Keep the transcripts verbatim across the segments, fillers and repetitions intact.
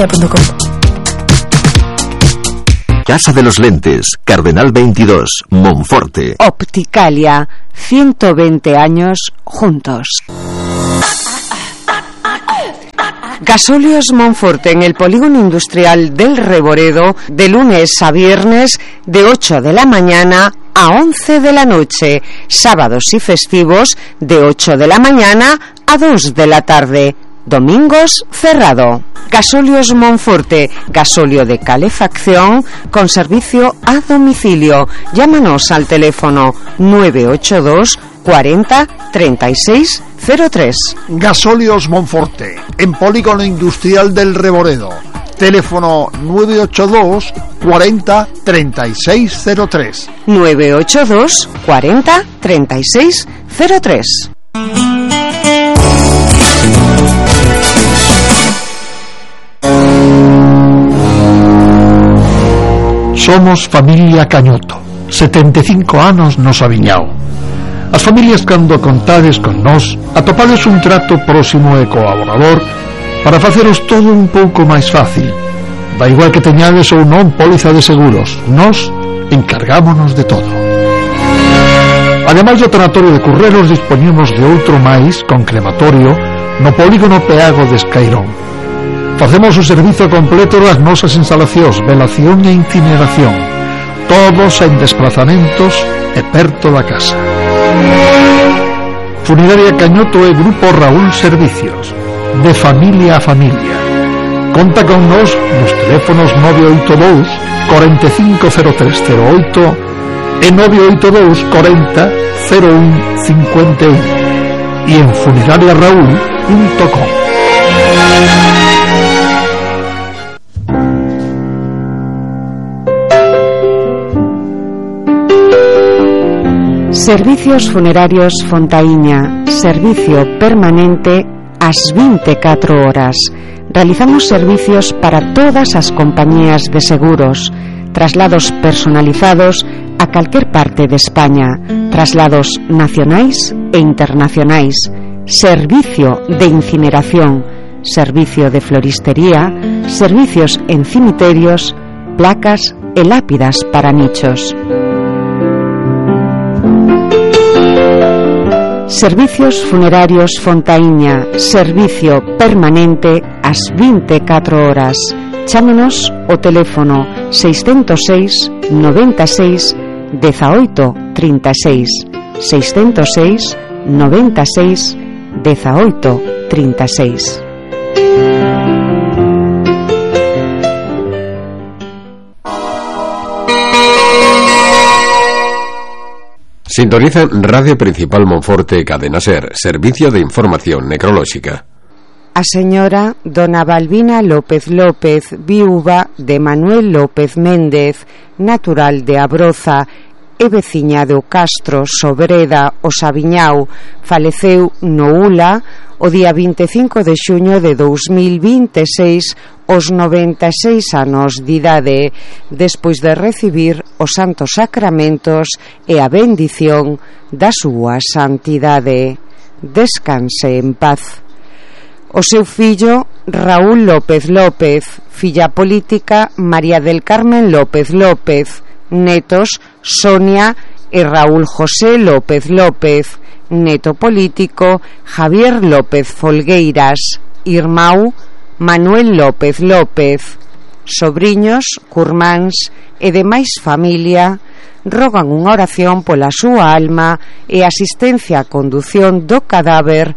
opticalia punto com. Casa de los Lentes, Cardenal veintidós, Monforte. Opticalia, ciento veinte años juntos. Gasóleos Monforte en el polígono industrial del Reboredo, de lunes a viernes de ocho de la mañana a once de la noche, sábados y festivos de ocho de la mañana a dos de la tarde. Domingos cerrado. Gasóleos Monforte, gasóleo de calefacción con servicio a domicilio. Llámanos al teléfono nueve ocho dos cuarenta treinta y seis cero tres. Gasóleos Monforte, en polígono industrial del Reboredo. Teléfono nueve ocho dos cuarenta treinta y seis cero tres. nueve ocho dos cuarenta treinta y seis cero tres. Somos familia Cañoto, setenta e cinco anos nos aviñao. As familias cando contades con nós atopades un trato próximo e colaborador para faceros todo un pouco máis fácil. Da igual que teñades ou non póliza de seguros, nós encargámonos de todo. Ademais do tanatorio de Currelos, dispoñemos de outro máis con crematorio no polígono Peago de Escairón. Facemos o servizo completo das nosas instalacións, velación e incineración, todos en desplazamentos e perto da casa. Funeraria Cañoto e Grupo Raúl Servicios, de familia a familia. Conta con nos nos teléfonos nove oito dous cuarenta e cinco cero tres cero oito e nove oito dous cuarenta cero un cincuenta y uno e en funeraria raúl punto com. Servicios Funerarios Fontaíña, servicio permanente ás vinte e catro horas. Realizamos servicios para todas as compañías de seguros, traslados personalizados a calquer parte de España, traslados nacionais e internacionais, servicio de incineración, servicio de floristería, servicios en cimiterios, placas e lápidas para nichos. Servicios Funerarios Fontaíña, servicio permanente ás vinte e catro horas. Chámenos o teléfono seiscentos seis noventa e seis dezaoito trinta e seis, seiscentos seis noventa e seis dezaoito trinta e seis. Sintoniza Radio Principal Monforte Cadena Ser, servicio de información necrolóxica. A señora dona Balbina López López, viúva de Manuel López Méndez, natural de Abroza e veciña do Castro, Sobreda, o Sabiñao, faleceu no Ula o día vinte e cinco de xuño de dous mil vinte e seis aos noventa e seis anos de idade, despois de recibir os santos sacramentos e a bendición da súa santidade. Descanse en paz. O seu fillo Raúl López López, filla política María del Carmen López López, netos Sonia e Raúl José López López, neto político Javier López Folgueiras, irmão Manuel López López, sobriños, curmáns e demais familia rogan unha oración pola súa alma e asistencia á condución do cadáver,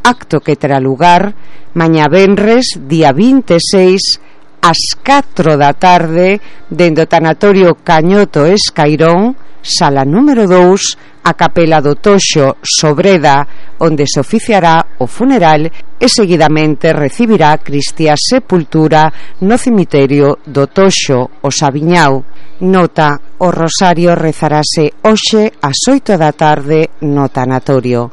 acto que terá lugar mañá venres, día vinte e seis, ás catro da tarde, dende o tanatorio Cañoto Escairón, sala número dous, a capela do Toxo, Sobreda, onde se oficiará o funeral e seguidamente recibirá Cristia sepultura no cemiterio do Toxo, o Sabiñao. Nota: o rosario rezarase hoxe ás oito da tarde no tanatorio.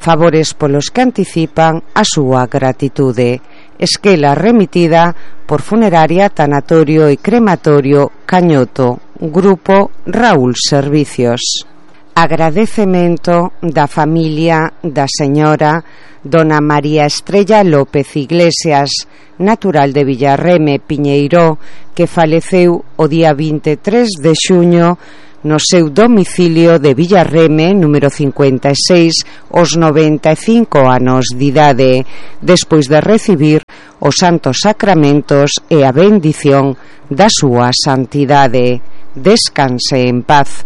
Favores polos que anticipan a súa gratitude. Esquela remitida por Funeraria, Tanatorio e Crematorio Cañoto, Grupo Raúl Servicios. Agradecemento da familia da señora dona María Estrella López Iglesias, natural de Villarreme, Piñeiró, que faleceu o día vinte e tres de xuño no seu domicilio de Villarreme, número cincuenta e seis, aos noventa e cinco anos de idade, despois de recibir os santos sacramentos e a bendición da súa santidade. Descanse en paz.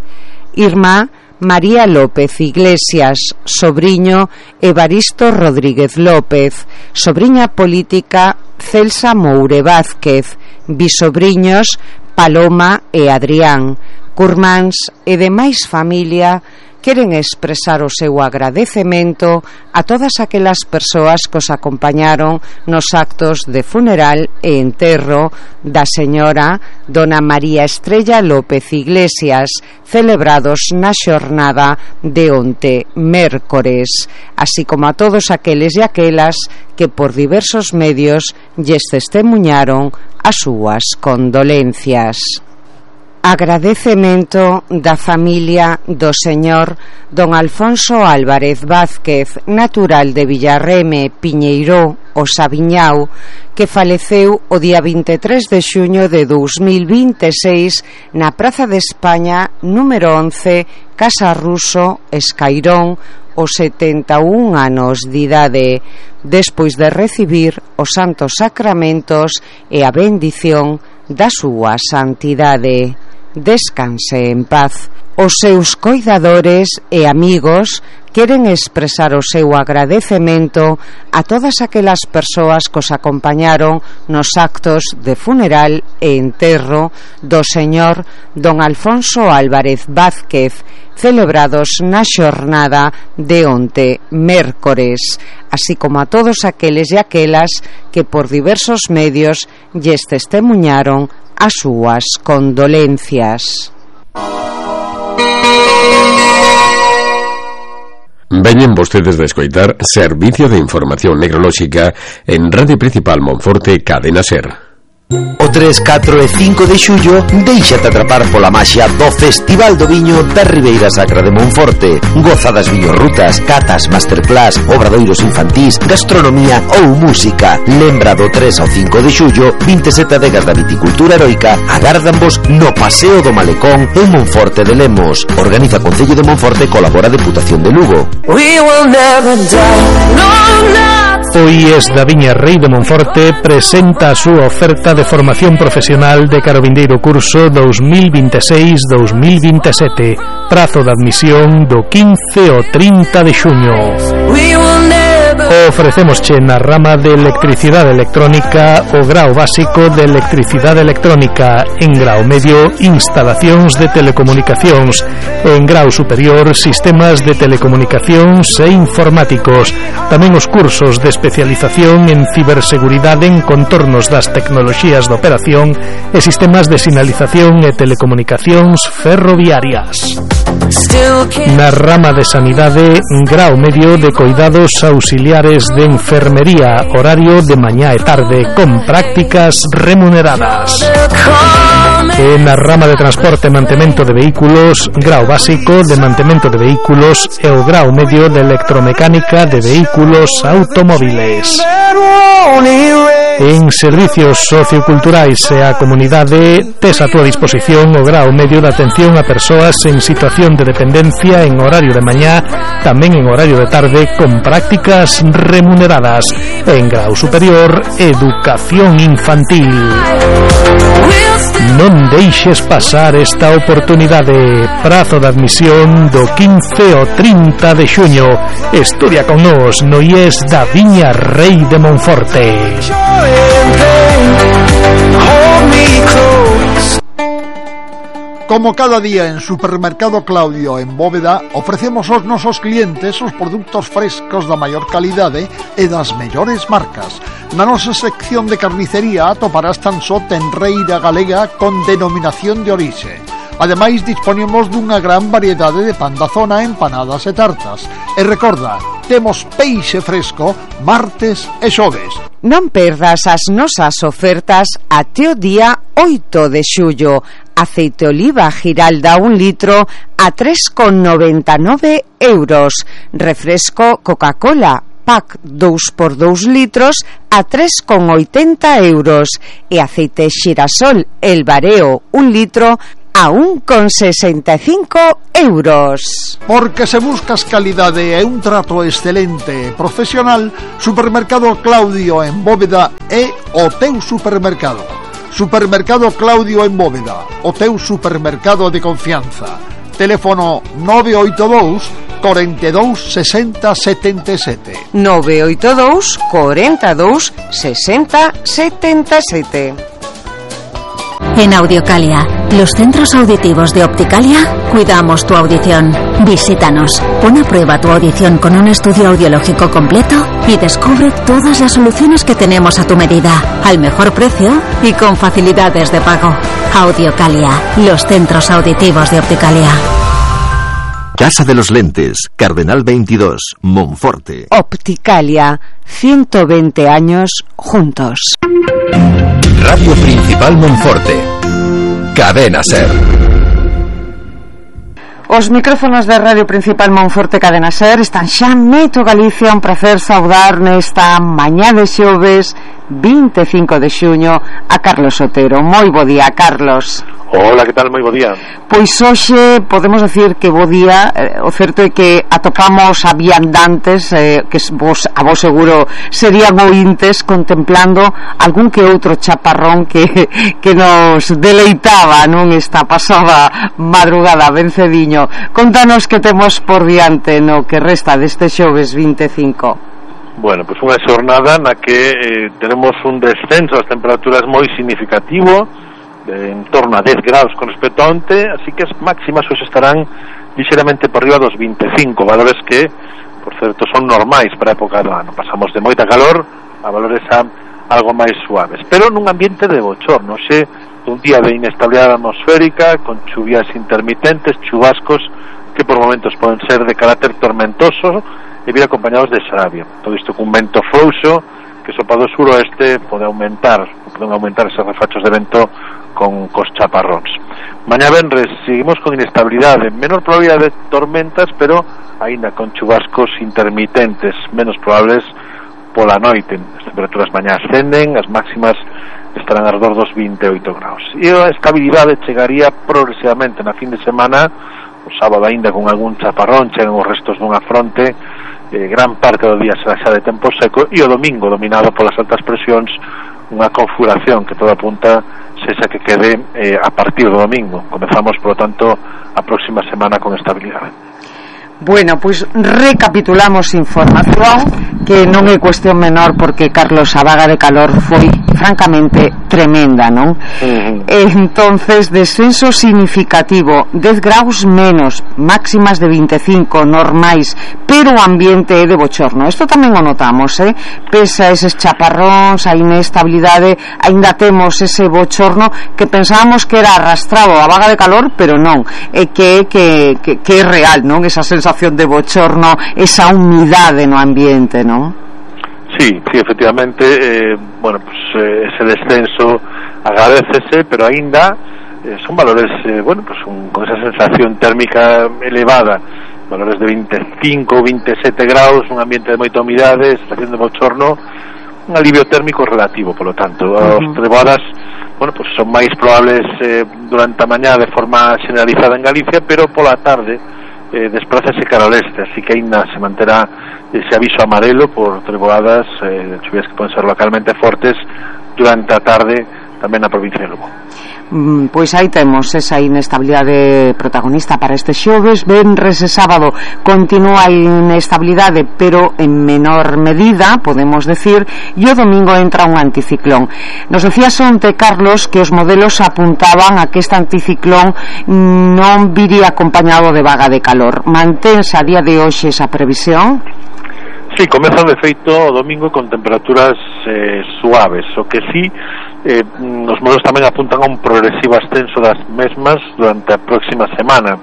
Irmá María López Iglesias, sobriño Evaristo Rodríguez López, sobriña política Celsa Moure Vázquez, bisobriños Paloma e Adrián, curmáns e demais familia queren expresar o seu agradecemento a todas aquelas persoas que os acompañaron nos actos de funeral e enterro da señora dona María Estrella López Iglesias, celebrados na xornada de onte, mércores, así como a todos aqueles e aquelas que por diversos medios lles testemuñaron as súas condolencias. Agradecemento da familia do señor don Alfonso Álvarez Vázquez, natural de Villarreme, Piñeiró, o Sabiñao, que faleceu o día vinte e tres de xuño de dous mil vinte e seis na Praza de España, número once, Casa Ruso, Escairón, os setenta e un anos de idade, despois de recibir os santos sacramentos e a bendición da súa santidade. Descanse en paz. Os seus coidadores e amigos queren expresar o seu agradecemento a todas aquelas persoas que os acompañaron nos actos de funeral e enterro do señor don Alfonso Álvarez Vázquez, celebrados na xornada de onte, mércores, así como a todos aqueles e aquelas que por diversos medios lles testemuñaron as súas condolencias. Veñen vostedes de escoitar Servicio de Información Necrolóxica en Radio Principal Monforte, Cadena Ser. O tres, catro e cinco de xullo déixate atrapar pola maxia do Festival do Viño da Ribeira Sacra de Monforte. Goza das viñorrutas, catas, masterclass, obradoiros infantís, gastronomía ou música. Lembra do tres ao cinco de xullo, vinte e sete adegas da viticultura heroica agárdanvos no Paseo do Malecón en Monforte de Lemos. Organiza Concello de Monforte, colabora Deputación de Lugo. We will never die, no, no. O I E S da Viña Rei de Monforte presenta a súa oferta de formación profesional de cara ao vindeiro curso dous mil vinte e seis dous mil vinte e sete. Prazo de admisión do quince ao trinta de xuño. Ofrecémosche na rama de electricidade electrónica o grao básico de electricidade electrónica, en grao medio instalacións de telecomunicacións, en grao superior sistemas de telecomunicacións e informáticos. Tamén os cursos de especialización en ciberseguridade en contornos das tecnoloxías de operación e sistemas de sinalización e telecomunicacións ferroviarias. Na rama de sanidade, grao medio de coidados auxiliares de enfermería, horario de mañá e tarde, con prácticas remuneradas. E na rama de transporte e mantemento de vehículos, grao básico de mantemento de vehículos e o grao medio de electromecánica de vehículos automóviles. En servicios socioculturais e a comunidade tes a túa disposición o grao medio de atención a persoas en situación de dependencia en horario de mañá, tamén en horario de tarde, con prácticas remuneradas. En grao superior, educación infantil. Non deixes pasar esta oportunidade. Prazo de admisión do quince ao trinta de xuño. Estudia con nós no I E S da Viña Rei de Monforte. Como cada día en Supermercado Claudio en Bóveda, ofrecemos aos nosos clientes os produtos frescos da maior calidade e das mellores marcas. Na nosa sección de carnicería atoparás tan só tenreira galega con denominación de orixe. Ademais, disponemos dunha gran variedade de pan da zona, empanadas e tartas. E recorda, temos peixe fresco martes e xoves. Non perdas as nosas ofertas até o día oito de xullo. Aceite oliva Giralda un litro a tres con noventa e nove euros. Refresco Coca-Cola pack dous por dous litros a tres con oitenta euros. E aceite Xirasol El Bareo un litro a un con sesenta e cinco euros. Porque se buscas calidade e un trato excelente e profesional, Supermercado Claudio en Bóveda é o teu supermercado. Supermercado Claudio en Bóveda, o teu supermercado de confianza. Teléfono nove oito dous, cuarenta y dos, sesenta, setenta y siete. nove oito dous, cuarenta y dos, sesenta, setenta y siete. En Audiocalia, los centros auditivos de Opticalia, cuidamos tu audición. Visítanos, pon a prueba tu audición con un estudio audiológico completo y descubre todas las soluciones que tenemos a tu medida, al mejor precio y con facilidades de pago. Audiocalia, los centros auditivos de Opticalia. Casa de los Lentes, Cardenal veintidós, Monforte. Opticalia, ciento veinte años juntos. Radio Principal Monforte. Cadena Ser. Os micrófonos de Radio Principal Monforte Cadena Ser están xa meto Galicia. Un prazer saudar nesta mañá de xoves vinte e cinco de xuño a Carlos Otero. Moi bo día, Carlos. Hola, que tal? Moi bo día. Pois hoxe podemos decir que bo día. eh, O certo é que atopamos a viandantes eh, que vos, a vos seguro serían ointes contemplando algún que outro chaparrón que, que nos deleitaba non esta pasada madrugada vencediño. Contanos que temos por diante no que resta deste xoves vinte e cinco. Bueno, pues unha xornada na que eh, tenemos un descenso das temperaturas moi significativo, de en torno a dez graus con respecto a onte, así que as máximas hoxe estarán lixeramente por riba dos vinte e cinco, valores que, por certo, son normais para a época do ano. Pasamos de moita calor a valores a algo máis suaves, pero nun ambiente de bochorno, xe un día de inestabilidade atmosférica, con chuvias intermitentes, chubascos que por momentos poden ser de carácter tormentoso e vir acompañados de xaravia. Todo isto cun vento frouxo que sopa do suroeste pode aumentar, poden aumentar esos refachos de vento con cos chaparróns. Mañá venres seguimos con inestabilidade, menor probabilidade de tormentas, pero aínda con chubascos intermitentes, menos probables pola noite. As temperaturas mañá ascenden, as máximas estarán alrededor dos vinte e oito graus. E a estabilidade chegaría progresivamente na fin de semana, o sábado aínda con algún chaparrón, chegan os restos dunha fronte, eh, gran parte do día será xa de tempo seco, e o domingo dominado polas altas presións, unha configuración que todo apunta sexa que quede eh, a partir do domingo. Comezamos, por lo tanto, a próxima semana con estabilidade. Bueno, pois recapitulamos información que non é cuestión menor, porque, Carlos, a vaga de calor foi francamente tremenda, non? Uh-huh. Entonces, descenso significativo, dez graus menos, máximas de vinte e cinco normais, pero o ambiente é de bochorno. Isto tamén o notamos, eh? Pese a eses chaparróns, a inestabilidade, aínda temos ese bochorno que pensábamos que era arrastrado a vaga de calor, pero non, é que, que, que, que é real, non? Esa sensación de bochorno, esa humidade no ambiente, non? Sí, sí, efectivamente, eh, bueno, pues eh, ese descenso agradecese, pero aínda eh, son valores, eh, bueno, pues un, con esa sensación térmica elevada, valores de veinticinco, veintisiete graus, un ambiente de moita humidade, sensación de bochorno, un alivio térmico relativo, por lo tanto, uh-huh. As trevoadas, bueno, pues son máis probables eh, durante a mañá de forma generalizada en Galicia, pero pola tarde eh, desplázase cara ao leste, así que aínda se manterá ese aviso amarelo por trevoadas, eh, chuvias que poden ser localmente fortes durante a tarde tamén na provincia de Lugo. Mm, pois aí temos esa inestabilidade protagonista para este xoves. Venres e sábado continúa a inestabilidade, pero en menor medida, podemos decir, e o domingo entra un anticiclón. Nos decías onte, Carlos, que os modelos apuntaban a que este anticiclón non viría acompañado de vaga de calor. Mantense a día de hoxe esa previsión? Sí, comeza de feito o domingo con temperaturas eh, suaves, o que sí eh, os modelos tamén apuntan a un progresivo ascenso das mesmas durante a próxima semana.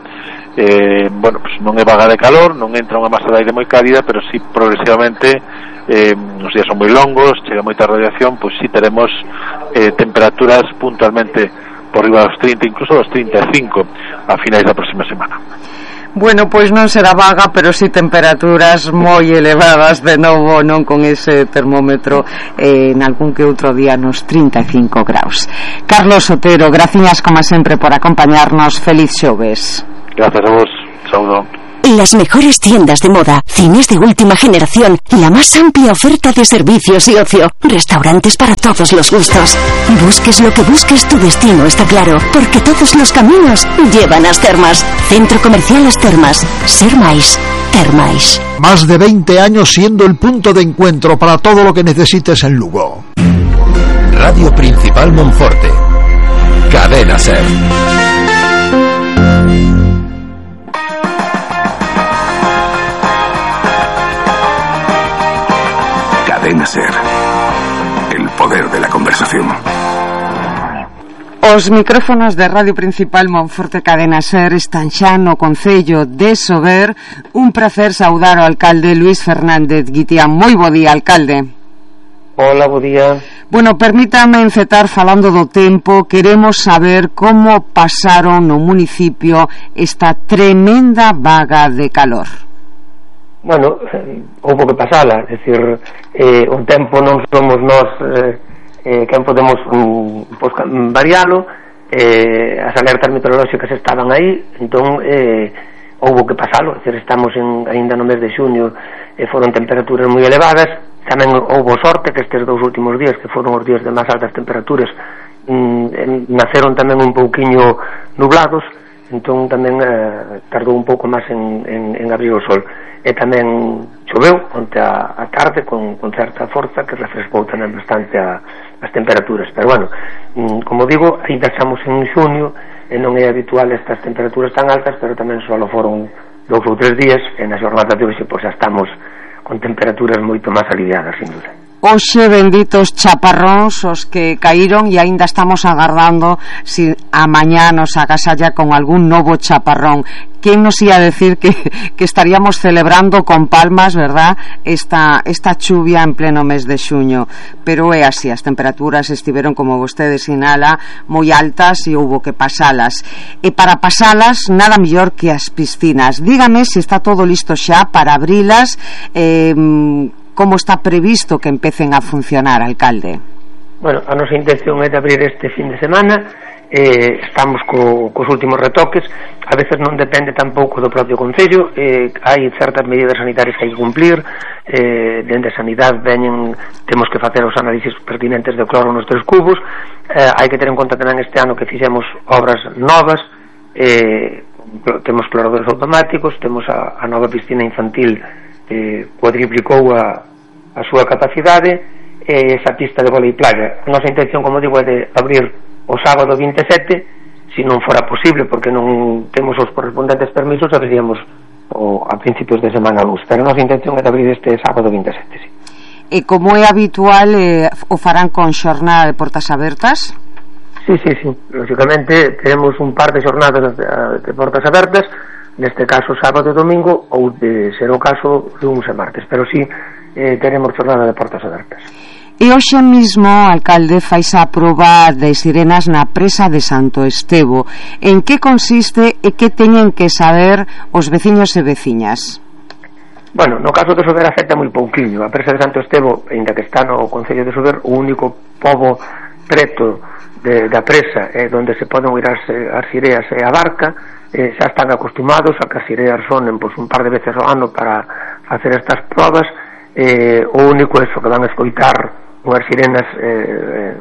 Eh, bueno, pues non é vaga de calor, non entra unha masa de aire moi cálida, pero sí progresivamente eh, os días son moi longos, chega moita radiación, pois sí teremos eh, temperaturas puntualmente por riba dos trinta, incluso dos trinta e cinco a finais da próxima semana. Bueno, pois non será vaga, pero si sí temperaturas moi elevadas de novo, non con ese termómetro eh, en algún que outro día nos trinta e cinco graus. Carlos Otero, graciñas como sempre por acompañarnos. Feliz xoves. Gracias a vos. Saúdo. Las mejores tiendas de moda, cines de última generación, la más amplia oferta de servicios y ocio, restaurantes para todos los gustos. Busques lo que busques, tu destino está claro, porque todos los caminos llevan a As Termas. Centro Comercial As Termas. Ser máis, ter máis. Más de veinte años siendo el punto de encuentro para todo lo que necesites en Lugo. Radio Principal Monforte. Cadena Ser. Cadena Ser. El poder de la conversación. Os micrófonos de Radio Principal Monforte Cadena Ser están xa no Concello de Sober. Un prazer saudar ao alcalde Luís Fernández Guitián. Moi bo día, alcalde. Hola, bo día. Bueno, permítame encetar falando do tempo. Queremos saber como pasaron no municipio esta tremenda vaga de calor. Bueno, eh, houve que pasala, é dicir, eh, o tempo non somos nós eh, eh, quen podemos um, pues, varialo, eh, as alertas meteorolóxicas estaban aí, entón eh, houve que pasalo, é dicir, estamos en, ainda no mes de xuño, eh, foron temperaturas moi elevadas, tamén houve sorte que estes dous últimos días, que foron os días de máis altas temperaturas, mm, naceron tamén un pouquiño nublados, entón tamén eh, tardou un pouco máis en, en, en abrir o sol. E tamén choveu onte a, a tarde con, con certa forza que refrescou tamén bastante a, as temperaturas, pero bueno, mm, como digo, ainda estamos en xuño e non é habitual estas temperaturas tan altas, pero tamén só foron dous ou tres días e na xornada de hoxe pois, xa estamos con temperaturas moito máis aliviadas, sin duda. Hoxe benditos chaparróns os que caíron e aínda estamos agardando si a mañá nos agasalla con algún novo chaparrón. ¿Quién nos ia decir que, que estaríamos celebrando con palmas, verdad, esta, esta chuvia en pleno mes de xuño? Pero é así, as temperaturas estiveron, como vostede sinala, moi altas e houbo que pasalas. E para pasalas, nada mellor que as piscinas. Dígame se está todo listo xa para abrilas, eh, como está previsto que empecen a funcionar, alcalde? Bueno, a nosa intención é de abrir este fin de semana, eh, estamos co, cos últimos retoques, a veces non depende tampouco do propio Concello, eh, hai certas medidas sanitarias que hai que cumplir, eh, dende a sanidade veñen, temos que facer os análisis pertinentes de cloro nos tres cubos, eh, hai que ter en conta tamén este ano que fixemos obras novas, eh, temos cloradores automáticos, temos a, a nova piscina infantil, eh, cuadriplicou a, a súa capacidade, e esa pista de vólei playa. A nosa intención, como digo, é de abrir o sábado vinte e sete, se non fora posible, porque non temos os correspondentes permisos, abriríamos o, a principios de semana luz, pero a nosa intención é de abrir este sábado vinte e sete, sí. E como é habitual, eh, o farán con xornada de portas abertas? Sí, sí, sí, lógicamente teremos un par de xornadas de, de portas abertas, neste caso sábado e domingo, ou de ser o caso lunes e martes, pero sí eh, teremos xornada de portas abertas. E hoxe mismo, alcalde, faise a proba de sirenas na presa de Santo Estevo. En que consiste e que teñen que saber os veciños e veciñas? Bueno, no caso de Sober afecta moi pouquiño. A presa de Santo Estevo, ainda que está no Concello de Sober, o único pobo preto de, da presa é onde se poden oír as, as sireas e a barca, eh, xa están acostumados a que as sireas sonen pois, un par de veces ao ano para facer estas probas. Eh, o único é que van a escoitar unhas sirenas eh,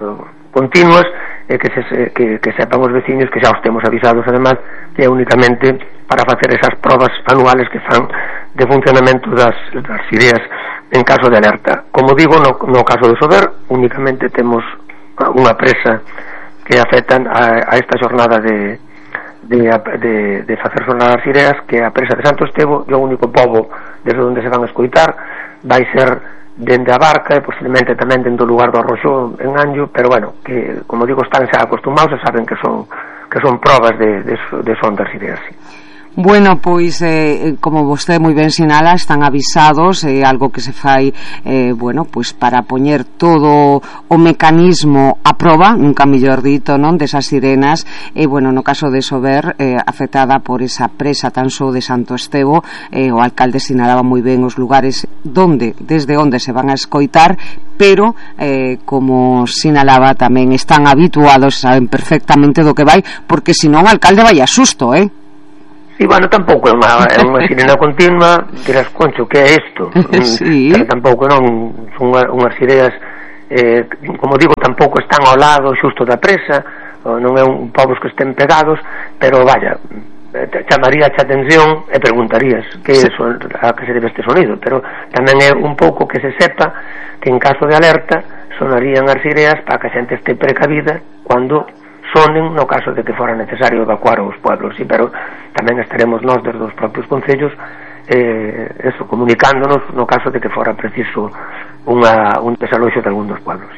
continuas e que, se, que, que sepan os veciños que xa os temos avisados además que é únicamente para facer esas probas anuales que fan de funcionamento das, das sireas en caso de alerta. Como digo, no, no caso de Sober únicamente temos unha presa que afectan a, a esta xornada de, de, de, de facer sonar as sireas, que é a presa de Santo Estevo, e o único pobo desde onde se van a escoitar vai ser dende a barca e posiblemente tamén dende o lugar do arroxo en Anllo, pero bueno, que como digo están xa acostumados e saben que son que son probas de, de, de son das ideas, sí. Bueno, pois, eh, como vostede moi ben sinala, están avisados, é eh, algo que se fai, eh, bueno, pois para poñer todo o mecanismo a proba, nunca mellor dito, non, desas sirenas, e, eh, bueno, no caso de Sober, eh, afectada por esa presa tan só de Santo Estevo, eh, o alcalde sinalaba moi ben os lugares donde, desde onde se van a escoitar, pero, eh, como sinalaba tamén, están habituados, saben perfectamente do que vai, porque senón o alcalde vai a susto, eh? Sí, bueno, tampouco é unha, é unha sirena continua, dirás, concho, que é isto? Sí. Pero tampouco non son unhas sirenas, eh, como digo, tampouco están ao lado xusto da presa, non é un povos que estén pegados, pero vaya, chamaría a atención e preguntarías que sí. son, a que se debe este sonido, pero tamén é un pouco que se sepa que en caso de alerta sonarían as sirenas para que a xente este precavida cando sonen no caso de que fora necesario evacuar os pueblos, sí, pero tamén estaremos nós desde os propios concellos eh, eso, comunicándonos no caso de que fora preciso unha, un desaloxo de algún dos pueblos.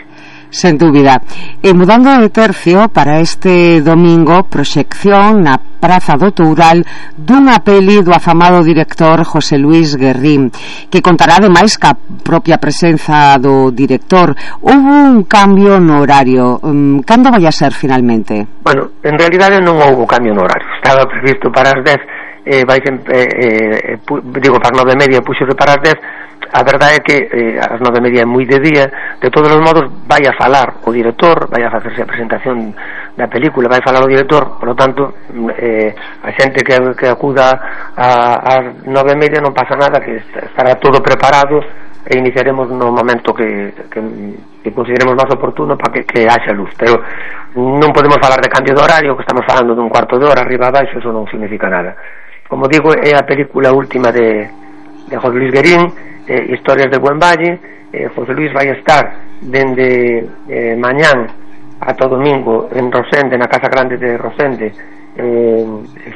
Sen dúbida. E mudando de tercio, para este domingo, proxección na Praza do Toural dunha peli do afamado director José Luis Guerrín, que contará ademais ca propia presenza do director. Houve un cambio no horario. Cando vai a ser finalmente? Bueno, en realidade non houve cambio no horario. Estaba previsto para as dez, eh, vai sempre, eh, eh, pu, digo, para as nove e media puxo para as dez. A verdade é que eh, as nove e media é moi de día. De todos os modos vai a falar o director, vai a facerse a presentación da película, vai a falar o director, por lo tanto eh, a xente que, que acuda ás nove e media non pasa nada, que estará todo preparado e iniciaremos no momento que, que, que consideremos máis oportuno para que, que haxa luz, pero non podemos falar de cambio de horario, que estamos falando dun cuarto de hora arriba abaixo, eso non significa nada. Como digo, é a película última de, de José Luis Guerín, eh, Historias de Buen Valle. eh, José Luis vai estar dende eh, mañán ata o domingo en Rosende, na Casa Grande de Rosende, eh,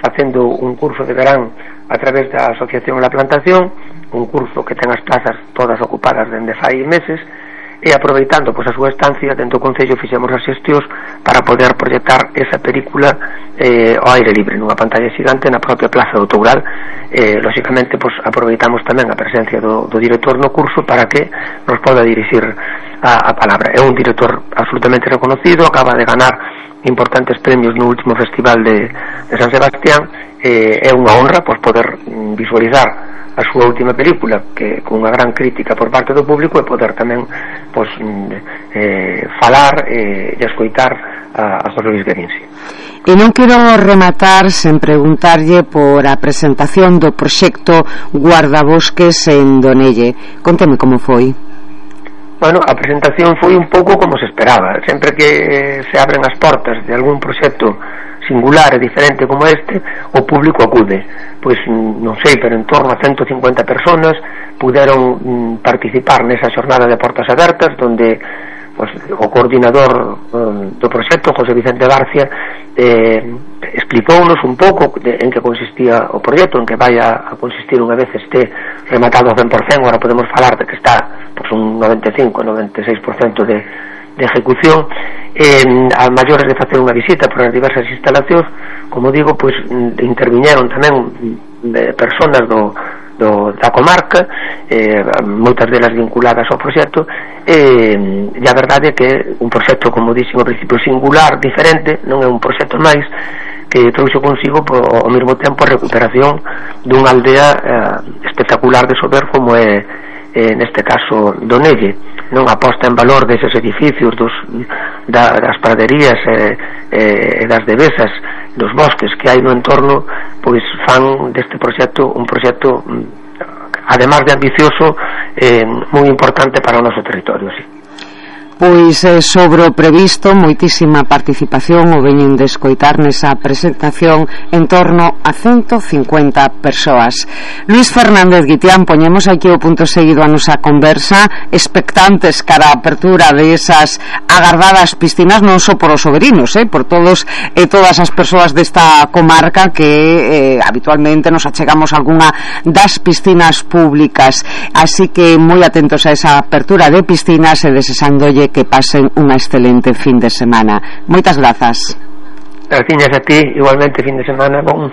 facendo un curso de verán a través da Asociación La Plantación, un curso que ten as plazas todas ocupadas dende fai meses, e aproveitando pois a súa estancia dentro do Concello fixemos as xestións para poder proxectar esa película eh, ao aire libre nunha pantalla xigante na propia Plaza do Toural. eh, lóxicamente pois aproveitamos tamén a presencia do, do director no curso para que nos poda dirixir a, a palabra. É un director absolutamente reconocido, acaba de ganar importantes premios no último festival de, de San Sebastián. eh, é unha honra pois poder visualizar a súa última película, que con unha gran crítica por parte do público, e poder tamén pois, eh, falar eh, e escoitar a, a José Luis Guerín. E non quero rematar sen preguntarlle por a presentación do proxecto Guardabosques en Donelle. Conteme como foi. Bueno, a presentación foi un pouco como se esperaba. Sempre que se abren as portas de algún proxecto singular e diferente como este, o público acude. Pois non sei, pero en torno a ciento cincuenta personas puderon participar nesa xornada de portas abertas, donde pues, o coordinador um, do proxecto, José Vicente García, eh, explicounos un pouco de, en que consistía o proxecto, en que vai a, a consistir unha vez este rematado ao cen por cento. Agora podemos falar de que está pues, un noventa e cinco a noventa e seis por cento de, de ejecución. Eh, a maiores de facer unha visita por as diversas instalacións, como digo, pois interviñeron tamén eh, personas do, do, da comarca, eh, moitas delas vinculadas ao proxecto, eh, e a verdade é que un proxecto, como dixen ao principio, singular, diferente, non é un proxecto máis que trouxe consigo por, ao mesmo tempo a recuperación dunha aldea eh, espectacular de Sober como é eh, neste caso Donelle. Non aposta en valor deses edificios dos, da, das praderías e eh, eh, das devesas, dos bosques que hai no entorno, pois fan deste proxecto un proxecto además de ambicioso, eh, moi importante para o noso territorio, sí. Pois eh, sobre o previsto, moitísima participación, o veñen de escoitar nesa presentación, en torno a ciento cincuenta persoas. Luis Fernández Guitián, poñemos aquí o punto seguido a nosa conversa, expectantes cara a apertura de esas agardadas piscinas, non só por os soberinos, eh, por todos e todas as persoas desta comarca que eh, habitualmente nos achegamos a algunha das piscinas públicas. Así que moi atentos a esa apertura de piscinas e desexándolle que pasen unha excelente fin de semana. Moitas grazas. Graciñas a ti, igualmente fin de semana bon.